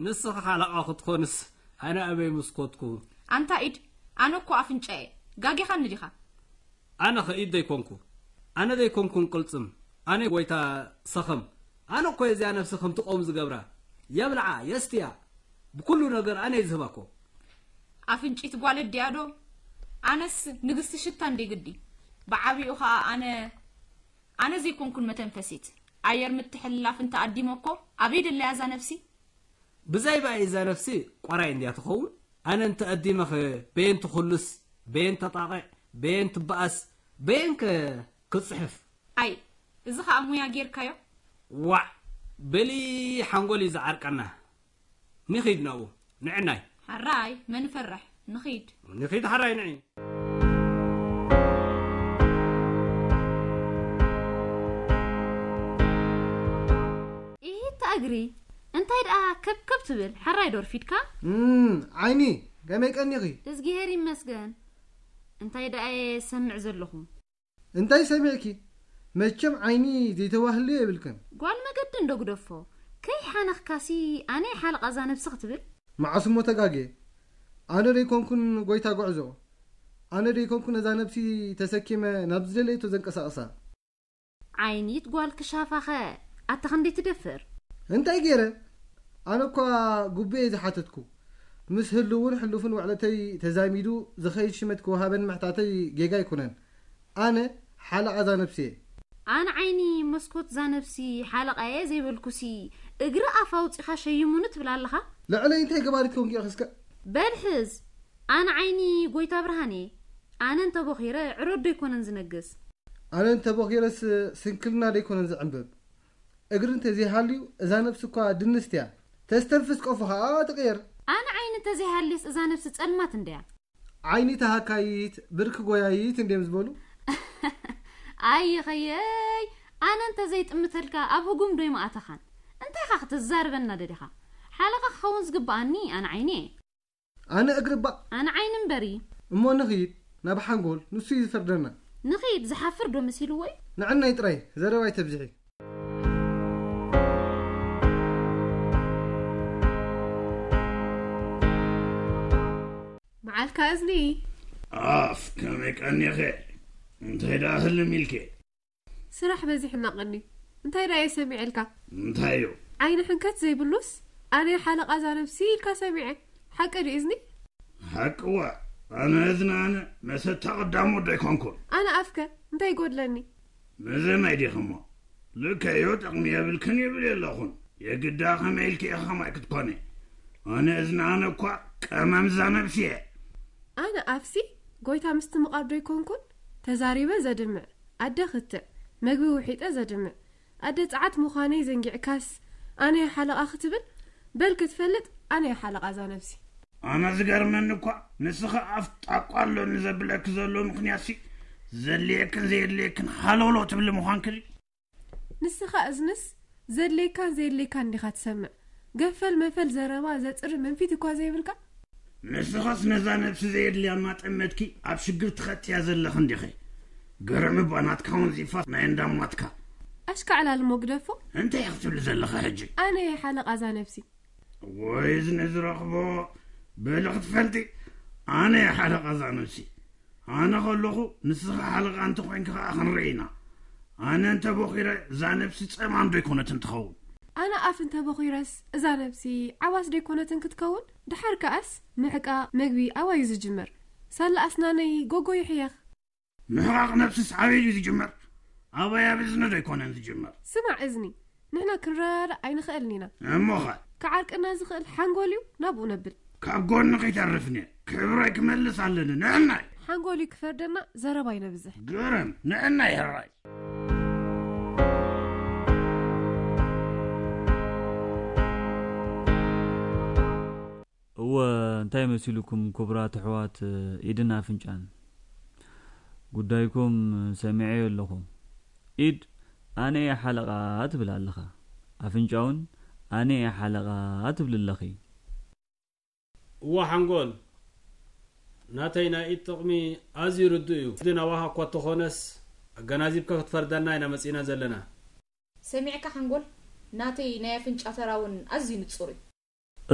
ንስኺ ሓለቓ ክትኾንስ ኣነ ኣበይ ምስኮትኩ? ኣንታ ኢድ፣ ኣነ እኮ ኣፍንጫ እየ። ጋጊኻኒ ዲኻ? ኣነ ኸኢድ ዘይኮንኩ። ኣነ ዘይኮንኩን ቅልጽም። ኣነ ጎይታ ሰኸም። ኣነ እኮ እዚኣ ነፍሲ ከምቲ ቆም ዝገብራ። የብልዓ፣ የስትያ። ብኩሉ ነገር ኣነ እየ ዝህባ እኮ። ኣፍንጪት ጓል እድያ ዶ? ኣነስ ንግስቲ ሽታ እንዴ ግዲ። ብዓቢኡ ኸኣ ኣነ፣ ኣነ ዘይኮንኩን መተንፈሲት። ኣየር ምትሕልላፍ እንተ ኣዲመ እኮ ኣበይ ደለያ እዛ ነፍሲ? ብዛይ ባይ እዛ ነፍሲ ቆራይ እንድያ ትኸውን? ኣነ እንተ ኣዲመኸ በየን ትኹልስ፣ በየን ተጣቕዕ፣ በየን ትበኣስ፣ በየን ከ ክጽሕፍ? ኣይ፣ እዚ ኸኣ ሙያ ጌርካዮ? ዋዕ፣ በሊ ሓንጎል እዩ ዝዓርቀና። ንኺድ ናብኡ፣ ንዕናይ። ሓራይ፣ መን ፈርሕ? ንኺድ። ንኺድ ሓራይ ንዒ። ኢሂት እግሪ፣ እንታይ ደኣ ከብከብ ትብል? ሓራይ ዶ ኣርፊድካ? እም፣ ዓይኒ፣ ከመይ ቀኒኺ? እዝጊሄር ይመስገን። እንታይ ደኣ እየ ዝሰምዕ ዘለኹ? እንታይ ሰሚዕኪ? መቸም ዓይኒ ዘይተዋህልዮ የብልክን። ጓል መገዲ እንዶ ግደፎ። ከይሓነኽካሲ ኣነ ሓለቓ እዛ ነብሲ ክትብል? መዓስ እሞ ተጋግየ? ኣነ ደይኮንኩን ጎይታ ጉዕዞ። ኣነ ደይኮንኩን እዛ ነብሲ ተሰኪመ ናብ ዝደለየቶ ዘንቀሳቕሳ። ዓይኒት ጓል ክሻፋኸ ኣታ ክንደይ ትደፍር? እንታይ ገይረ? ኣነ እኳ ጉቡየ ዝሓተትኩ። ምስ ህልውን ሕሉፍን ውዕለተይ ተዛሚዱ ዝኸይድ ሽመት ክወሃበን ምሕታተይ ጌጋ ኣይኮነን። ኣነ ሓለቓ እዛ ነብሲ እየ። ኣነ ዓይኒ መስኮት እዛ ነብሲ ሓለቓ እየ ዘይበልኩሲ፣ እግሪ ኣፍ ኣውጺኻ ሸይሙኒ ትብል ኣለኻ? ልዕለይ እንታይ ገባሪት ኮንኪ ኢኺ እስከ? በል ሕዝ፣ ኣነ ዓይኒ ጎይታ ብርሃን እየ። ኣነ እንተቦኺረ ዕሮዶ ኣይኮነን ዝነግስ። ኣነ እንተቦኺረስ ስንክልና ደይኮነን ዝዕንብብ። እግሪ እንተዘይሃልዩ እዛ ነብሲ እኳ ድንስት እያ። ተስተንፍስ ቆፎ ኸኣ ትቕየር። ኣነ ዓይኒ እንተዘይሃልየስ እዛ ነብሲ ጸልማት እንድያ። ዓይኒ ተሃካይት፣ ብርኪ ጎያይት እንድዮም ዝበሉ። ኣይኸየይ፣ ኣነ እንተዘይጥምተልካ ኣብ ህጉም ዶ ኣይምኣተኻን? እንታይ ኢኻ ክትዛረበና ደሊኻ? ሓለቓ ክኸውን ዝግብኣኒ ኣነ ዓይኒ እየ። ኣነ እግሪ እባ። ኣነ ዓይኒ እምበሪ። እሞ ንኺድ ናብ ሓንጎል፣ ንሱ እዩ ዝፈርደና። ንኺድ፣ ዝሓፍር ዶ መሲልዎ እዩ? ንዕናይ ጥራይ፣ ዘረባ ኣይተብዝሒ። መዓልካ እዝኒ። ኣፍ፣ ከመይ ቀኒኸ? እንታይ ደኣ ህልም ኢልከ? ስራሕ በዚሕና ቀኒ። እንታይ ደኣ እየ ሰሚዐልካ? እንታይ እዩ? ዓይኒ ሕንከት ዘይብሉስ፣ ኣነ ሓለቓ እዛ ነብሲ ኢልካ ሰሚዐ። ሓቂ ድዩ እዝኒ? ሓቅዋ፣ ኣነ እዝኒ ኣነ መሰታ ቀዳሞት ዶ ኣይኮንኩን? ኣነ ኣፍከ እንታይ ይጎድለኒ? መዘናይ ዲኺ እሞ? ልከዮ ጥቕሚ የብልክን ይብል የለኹን። የግዳ ከመይ ኢልኪ ኢኻ ከማይ ክትኮኒ? ኣነ እዝኒ ኣነ እኳ ቀመም እዛ ነብሲ እየ። ኣነ ኣፍሲ ጎይታ ምስቲ ምቓር ዶ ኣይኮንኩን? ተዛሪበ ዘድምዕ፣ ኣደ ክትዕ፣ መግቢ ውሒጠ ዘድምዕ፣ ኣደ ጸዓት ምዃነይ ዘንጊዕካስ ኣነ እየ ሓለቓ ክትብል? በል ክትፈልጥ ኣነ እየ ሓለቓ እዛ ነብሲ። ኣነ ዝገርመኒ እኳ ንስኺ ኣፍ ጣቋ ኣሎኒ ዘብለኪ ዘሎ ምኽንያትሲ ዘድልየክን ዘየድልየክን ሃለውለው ትብሊ ምዃንኪ ድዩ? ንስኻ እዝንስ ዘድልየካን ዘየድልየካን እንዲኻ ትሰምዕ። ገፈል መፈል ዘረባ ዘጽሪ መንፊት እኳ ዘይብልካ። ንስኻስ ነዛ ነብሲ ዘየድልያ እናጠመትኪ ኣብ ሽግር ትኸትያ ዘለኺ እንዲኺ። ገረሚ እባ ናትካ እውን ዚፋስ ናይ እንዳማትካ። ኣሽካዕላል እሞ ግደፎ። እንታይ ኢኺ ክትብሊ ዘለኺ ሕጂ? ኣነ እየ ሓለቓ እዛ ነብሲ። ወይ እዝኒ ዝረኽቦ በሊ ክትፈልጢ። ኣነ እየ ሓለቓ እዛ ነብሲ። ኣነ ከለኹ ንስኻ ሓለቓ እንተኾይንኪ ኸኣ ክንርኢ ኢና። ኣነ እንተ ቦኺረ እዛ ነብሲ ጸማም ዶ ኣይኮነትን ትኸውን? ኣነ ኣፍ እንተ ቦኺረስ እዛ ነብሲ ዓዋስ ዶ ኣይኮነትን ክትከውን? ድሓር ከኣስ ምሕቃቕ መግቢ ኣባይ እዩ ዝጅመር? ሳላ ኣስናነይ ጎጎ ይሕየኽ። ምሕቓቕ ነብስስ ኣበይ ድዩ ዝጅመር? ኣባይ ኣብ እዝኒ ዶ ኣይኮነን ዝጅመር? ስማዕ እዝኒ፣ ንሕና ክንረዳዳእ ኣይንኽእልን ኢና። እሞኸ? ክዓርቀና ዝኽእል ሓንጎል እዩ፣ ናብኡ ነብል። ካብ ጎንኺ ይተርፍኒ፣ ክብረይ ክመልስ ኣለኒ፣ ንዕናይ። ሓንጎል እዩ ክፈርደና፣ ዘረባ ይነብዝሕ። ግርም፣ ንዕናይ ሕራይ። እወ፣ እንታይ መሲሉኩም ክቡራት ኣሕዋት ኢድን ኣፍንጫን? ጉዳይኩም ሰሚዐዮ ኣለኹ። ኢድ ኣነ እየ ሓለቓ ትብል ኣለኻ። ኣፍንጫውን ኣነ እየ ሓለቓ ትብል ኣለኺ። እወ ሓንጎል፣ ናተይ ናይ ኢድ ጥቕሚ ኣዝዩ ርዱእ እዩ። ግን ኣባኻ እኳ እተኾነስ ኣገናዚብካ ክትፈርደና ኢና መጺእና ዘለና። ሰሚዕካ ሓንጎል፣ ናተይ ናይ ኣፍንጫ ተራ እውን ኣዝዩ ንጹር እዩ።